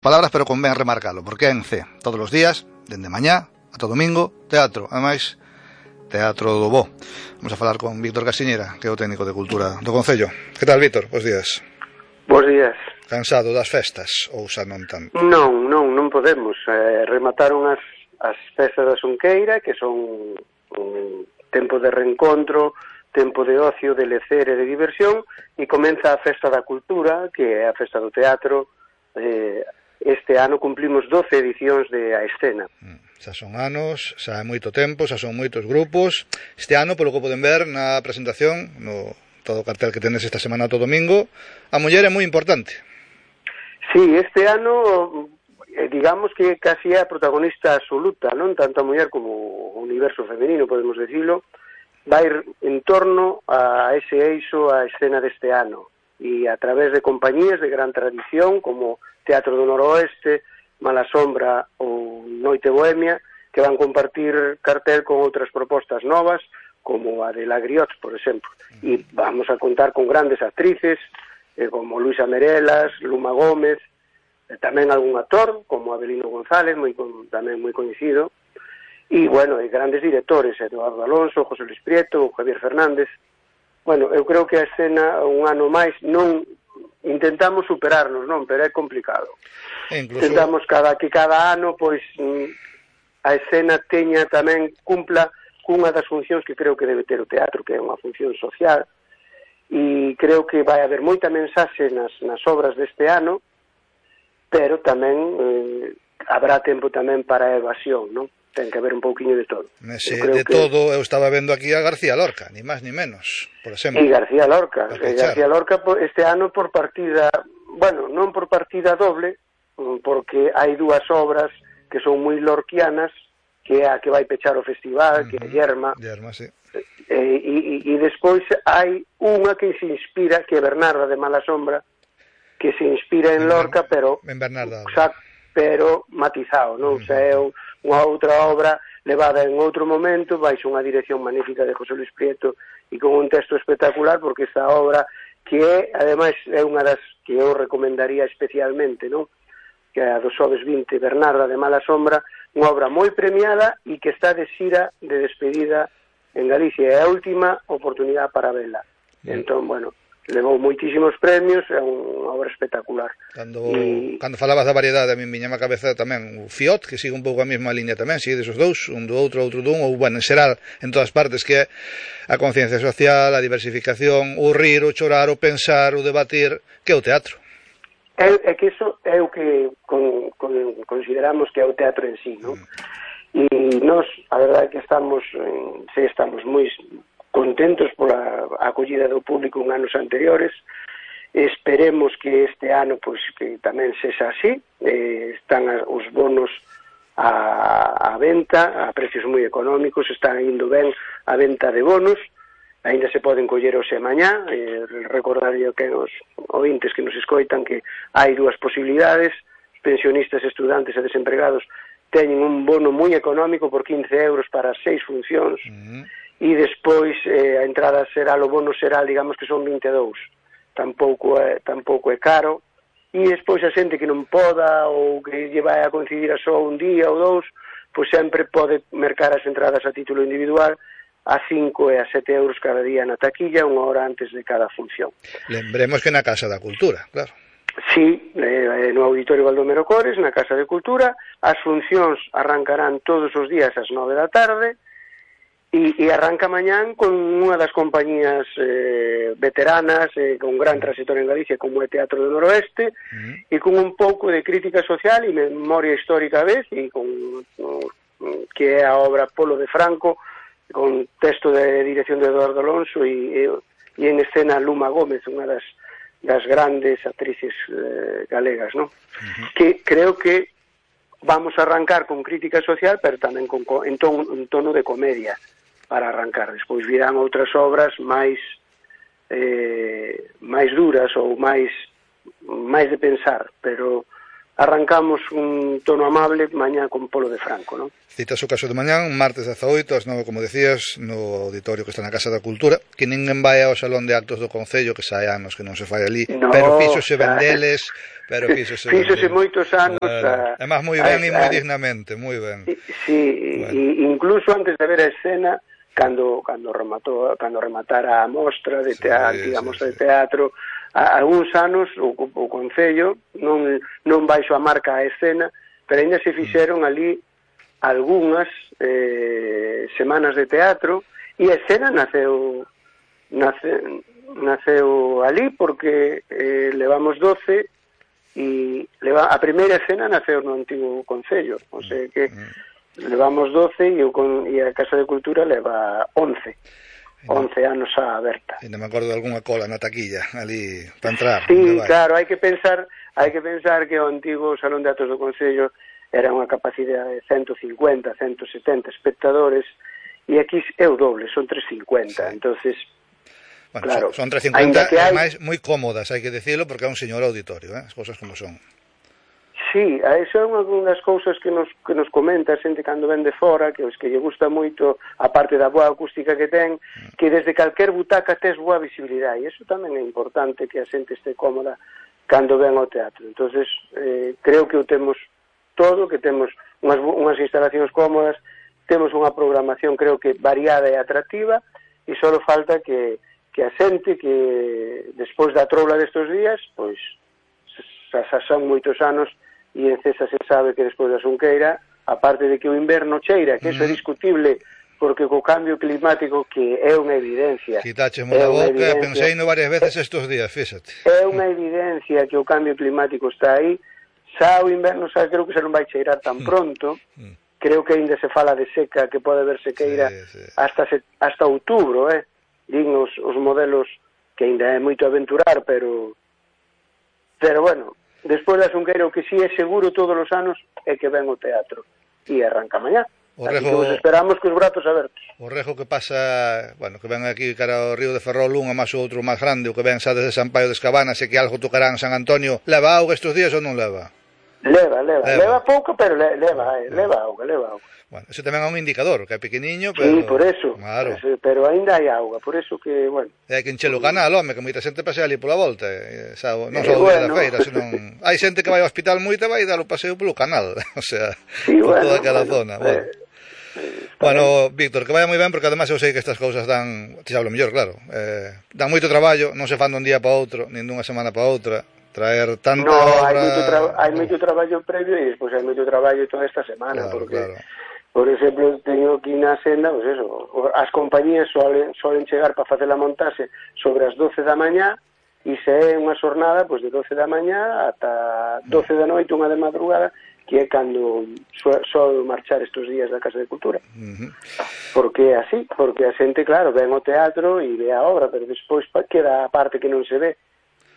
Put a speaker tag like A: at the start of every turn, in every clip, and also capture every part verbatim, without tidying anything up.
A: Palabras, pero convén remarcalo, porque é en C, todos os días, dende mañá ata domingo, teatro, ademais, teatro do bo. Vamos a falar con Víctor Casiñera, que é o técnico de cultura do Concello. Que tal, Víctor? Bos días.
B: Bos días.
A: Cansado das festas, ou xa non tanto?
B: Non, non, non podemos. Eh, remataron as, as festas da Xunqueira, que son un tempo de reencontro, tempo de ocio, de lecer e de diversión, e comeza a festa da cultura, que é a festa do teatro. eh, Este ano cumplimos doce edicións de A Escena.
A: Xa son anos, xa é moito tempo, xa son moitos grupos. Este ano, polo que poden ver na presentación, no todo o cartel que tenes esta semana todo domingo, a muller é moi importante.
B: Sí, este ano, eh, digamos que casi é a protagonista absoluta, non? Tanto a muller como o universo femenino, podemos decirlo, vai ir en torno a ese eixo A Escena deste ano. E a través de compañías de gran tradición, como Teatro do Noroeste, Mala Sombra ou Noite Bohemia, que van compartir cartel con outras propostas novas, como a de Lagriots, por exemplo. E vamos a contar con grandes actrices, eh, como Luisa Merelas, Luma Gómez, e tamén algún actor, como Abelino González, moi, tamén moi coñecido, e, bueno, e grandes directores, Eduardo Alonso, José Luis Prieto, Javier Fernández. Bueno, eu creo que a escena un ano máis non intentamos superarnos, non, pero é complicado. Incluso... Intentamos cada que cada ano pois a escena teña tamén cumpla cunha das funcións que creo que debe ter o teatro, que é unha función social, e creo que vai haber moita mensaxe nas, nas obras deste ano, pero tamén eh, habrá tempo tamén para a evasión, non? Ten que haber un pouquiño de todo.
A: Nese de que... todo, eu estaba vendo aquí a García Lorca, ni máis ni menos, por exemplo.
B: E García Lorca, e García Lorca este ano por partida, bueno, non por partida doble, porque hai dúas obras que son moi lorquianas, que é a que vai pechar o festival, uh-huh. que é Yerma.
A: Yerma, sí.
B: E, e, e despois hai unha que se inspira, que é Bernarda de Mala Sombra, que se inspira en, en Lorca, pero
A: en Bernarda,
B: xa, pero matizado, non? Uh-huh. O sea, é unha outra obra levada en outro momento, baixo unha dirección magnífica de José Luis Prieto e con un texto espectacular, porque esta obra, que é, ademais, é unha das que eu recomendaría especialmente, non? Que é a do Xoves vinte, Bernarda de Mala Sombra, unha obra moi premiada e que está de xira de despedida en Galicia, é a última oportunidade para vela. Mm. Entón, bueno, levou moitísimos premios, é unha obra espectacular.
A: Cando, e... cando falabas da variedade, a mí viña a cabeza tamén o Fiot, que sigue un pouco a mesma liña tamén, sigue desos dous, un do outro, outro dun, ou, bueno, en xeral, en todas partes, que é a conciencia social, a diversificación, o rir, o chorar, o pensar, o debatir, que é o teatro.
B: É, é que iso é o que con, con, consideramos que é o teatro en sí, non? Mm. E nós, a verdade é que estamos, sí, estamos moi contentos pola acollida do público en anos anteriores. Esperemos que este ano pois que tamén sexa así. Eh, están os bonos a, a venta a precios moi económicos, están indo ben a venta de bonos, aínda se poden coller hoxe e mañá. Eh, recordaría que os ointes que nos escoitan que hai dúas posibilidades: pensionistas, estudantes e desempregados teñen un bono moi económico por quince euros para seis funcións. Uh-huh. E despois eh, a entrada será, o bono será, digamos que son vinte e dous, tampouco é, tampouco é caro, e despois a xente que non poda ou que lle vai a coincidir a só un día ou dous, pois sempre pode mercar as entradas a título individual a cinco e a sete euros cada día na taquilla, unha hora antes de cada función.
A: Lembremos que na Casa da Cultura, claro.
B: Sí, eh, no Auditorio Baldomero Cores, na Casa de Cultura, as funcións arrancarán todos os días ás nove da tarde, E, e arranca mañán con unha das compañías eh, veteranas, eh, con gran trayectoria en Galicia, como é Teatro do Noroeste, uh-huh. e con un pouco de crítica social e memoria histórica a vez, e con no, que é a obra Polo de Franco, con texto de dirección de Eduardo Alonso e, e, e en escena Luma Gómez, unha das, das grandes actrices eh, galegas, non? Uh-huh. Que creo que vamos a arrancar con crítica social, pero tamén con, en, ton, en tono de comedia, para arrancar. Despois virán outras obras máis eh, máis duras ou máis máis de pensar, pero arrancamos un tono amable mañá con Polo de Franco, non?
A: Citas o caso de mañán, martes dezaoito, ás nove, como decías, no auditorio que está na Casa da Cultura, que ninguén vai ao Salón de Actos do Concello, que sai anos que non se fai ali, no, pero fíxose vendeles, pero fíxose
B: fíxose moitos anos.
A: Bueno,
B: a,
A: é máis moi ben e moi dignamente, moi ben.
B: Sí, bueno. E incluso antes de ver a escena, cando cando rematou, cando rematara a mostra de teatro, sí, digamos, sí, sí. de teatro, a, algúns anos o, o Concello non non baixo a marca a escena, pero ainda se fixeron ali algunhas eh, semanas de teatro, e a escena naceu nace, naceu ali porque eh, levamos doce e leva, a primeira escena naceu no antigo Concello, o sea que levamos doce e, o, e a Casa de Cultura leva once once anos a aberta.
A: E non me acordo de algunha cola na taquilla ali para entrar.
B: Sí, claro, hai que pensar hai que pensar que o antigo Salón de Actos do Concello era unha capacidade de ciento cincuenta, ciento setenta espectadores, e aquí é o doble, son trescientos cincuenta, sí. Entonces,
A: bueno,
B: claro,
A: son trescientos cincuenta,
B: que hai...
A: ademais, moi cómodas, hai que decirlo, porque é un señor auditorio, eh? As cousas como son.
B: Sí, eso é unha das cousas que nos, que nos comenta a xente cando ven de fora, que os que lle gusta moito, a parte da boa acústica que ten, que desde calquer butaca tes boa visibilidade, e iso tamén é importante, que a xente este cómoda cando ven ao teatro. Entonces, eh, creo que o temos todo, que temos unhas, unhas instalacións cómodas, temos unha programación creo que variada e atractiva, e só falta que, que a xente que despois da troula destes días, pois xa, xa son moitos anos, e en Cesa se sabe que despois da Xunqueira, aparte de que o inverno cheira, que eso é discutible, porque co cambio climático, que é unha evidencia.
A: Quitaxemo da boca, pensei no varias veces estes días, fíxate.
B: É unha evidencia que o cambio climático está aí. Xa o inverno, xa creo que xa non vai cheirar tan pronto, creo que ainda se fala de seca, que pode haber sequeira sí, sí. hasta se, hasta outubro, eh? Din os, os modelos, que ainda é moito aventurar, pero pero bueno, despois da Xunqueira o que si é seguro todos os anos é que ven o teatro, e arranca mañá. O Rejo, así que os esperamos cos brazos abertos.
A: O Rejo que pasa, bueno, que ven aquí cara ao río de Ferrol, un a máis o outro máis grande, o que ven xa desde San Paio das Cabanas, e que algo tocarán San Antonio, leva auga estes días ou non leva?
B: Leva, leva, leva, leva pouco, pero le, leva, eh, leva auga, leva auga.
A: Bueno, eso tamén é un indicador, que é pequeniño, pero...
B: Sí, por eso,
A: claro.
B: Pero, pero ainda hai auga, por eso que, bueno...
A: É que enchelo o canal, home, que moita xente pasea ali pola volta, eh, xa, non só o día bueno. da feira, senón... Hai xente que vai ao hospital moita e vai dar o paseo polo canal, o sea,
B: sí,
A: por
B: bueno,
A: toda aquela
B: bueno,
A: zona, bueno. Eh, Bueno, Víctor, que vaya moi ben, porque además eu sei que estas cousas dan, te hablo mellor, claro, eh, dan moito traballo, non se fan dun día para outro, nin dunha semana para outra, traer tanta
B: no,
A: obra...
B: hai moito, tra- hai moito traballo previo e despois hai moito traballo toda esta semana,
A: claro,
B: porque,
A: claro.
B: por exemplo, teño aquí na senda, pues eso, as compañías solen, solen chegar para facer a montase sobre as doce da mañá, e se é unha xornada, pues de doce da mañá ata doce da noite, unha de madrugada, que é cando sol marchar estes días da Casa de Cultura. Uh-huh. Porque é así, porque a xente, claro, ven ao teatro e ve a obra, pero despois queda a parte que non se ve.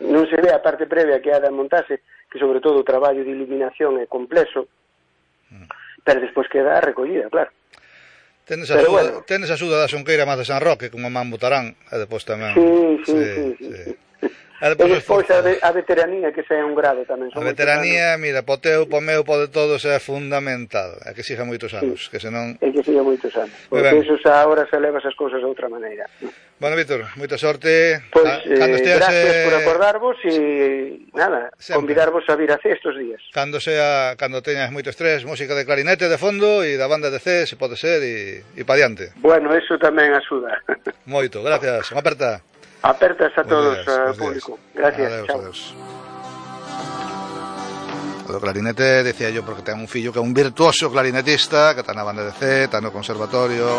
B: Non se ve a parte previa que é a de montarse, que sobre todo o traballo de iluminación é complexo, uh-huh. pero despois queda a recollida, claro.
A: Tenes a, pero axuda, bueno. tenes a axuda da Xunqueira máis de San Roque, como man botarán, e depois tamén...
B: Sí, sí, sí, sí. sí, sí. sí. E despois a, de, a veteranía, que xa é un grado tamén.
A: A veteranía, mira, po teu, po meu, po de todos é fundamental. É que siga moitos anos, sí, que senón...
B: É que siga moitos anos, porque eso xa agora se leva esas cousas de outra maneira.
A: Bueno, Víctor, moita sorte.
B: Pois, ah, eh, esteas, gracias eh... por acordarvos e, nada, sempre. Convidarvos a vir a C estes días.
A: Cando sea, cando teñas moito estrés, música de clarinete de fondo e da banda de C, se pode ser, e, e pa diante.
B: Bueno, eso tamén axuda.
A: Moito, gracias. Unha aperta.
B: Apertas a todos, al público. Gracias,
A: adeus,
B: chao.
A: Adeus. O clarinete, decía yo, porque ten un fillo que é un virtuoso clarinetista, que está na banda de C, está no conservatorio,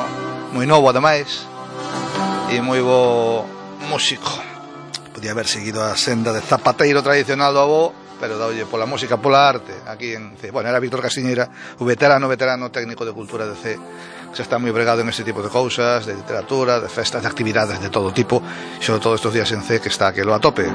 A: moi novo ademais, e moi bo músico. Podía haber seguido a senda de zapateiro tradicional do avó, pero daolle pola música, pola arte, aquí en C. Bueno, era Víctor Castiñeira, o veterano, veterano técnico de cultura de C, que está moi bregado en este tipo de cousas, de literatura, de festas, de actividades de todo tipo, sobre todo estes días en C, que está aquelo a tope.